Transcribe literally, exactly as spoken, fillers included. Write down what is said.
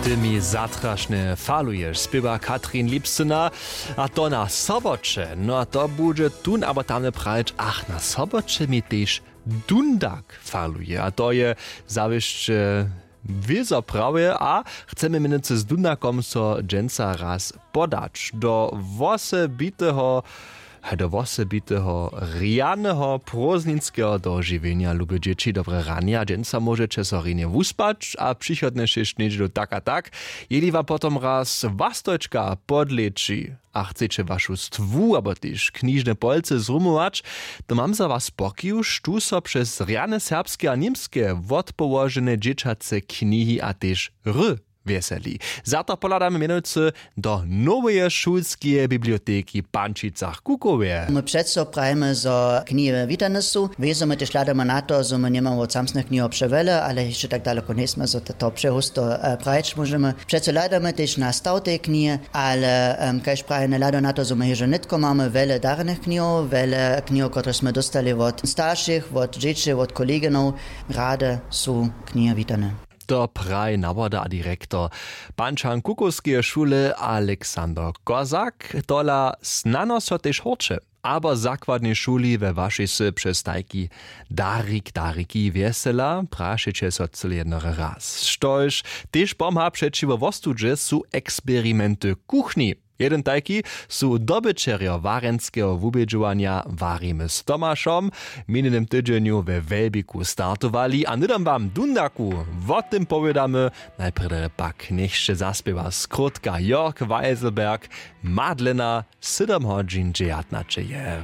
Ty mi zatrašnje faluješ, spěwa Katrin Lipsyna. A to na soboće. No a to budźe tón abo tamle prajić, ach, na soboće mi tež dundak faluje. A to je zawěsće wězo prawje a chcemy mjenujcy z dundakom so dźensa raz podać do wosebiteho do wosebiteho rjaneho prózdninskeho dožiwjenja. Lube dźěći, dobre ranje. A dźensa móžeće so rjenje wuspać a přichodnje šěsć njedźelu tak a tak, jeli wam potom raz wastojčka podleći a chceće wašu stwu abo tež knižne polcy zrumować, to mam za was pokiwš tu so přez rjane serbske a němske wotpołožene dźěćace knihi a tež r wjeseli. Za to pohladamy mjenujcy do noweje šulskeje biblioteki w Pančicach-Kukowje. My přeco prajimy, zo knihy witane su. Wězo my tež hladamy na to, zo my njemamy wot samsnych knihow přewjele, ale hišće tak daleko njejsmy, zo to přehusto prajić móžemy. Přeco hladamy tež na staw tej knihy, ale kaž prajene hlado na to, zo my hižo nětko mamy wjele darjenych knihow, wjele knihow, kotrež smy dóstali wot staršich, wot dźěći, wot koleginow. Rady su knihy witane. To praji nawoda a direktor pančan kukowskeje šule alexander kozak. Tola snano so tež horće abo w zakładnej šuli we wašej sy přez tajki darik dariki wjesela prašeće so cyle jednore raz, štož tež pomha přećiwo wostudźe su eksperimenty kuchni. Jedyn tajki su dobyćerjo warjenskeho wubědźowanja warimy z tomašom w minjenym tydźenju we wjelbiku startowali a hnydom wam dundaku wo tym powědamy. Najprjedy pak njech sće zaspěwa skrótka jörg weiselberg. Madlena sydom hodźin dźejatnaće je.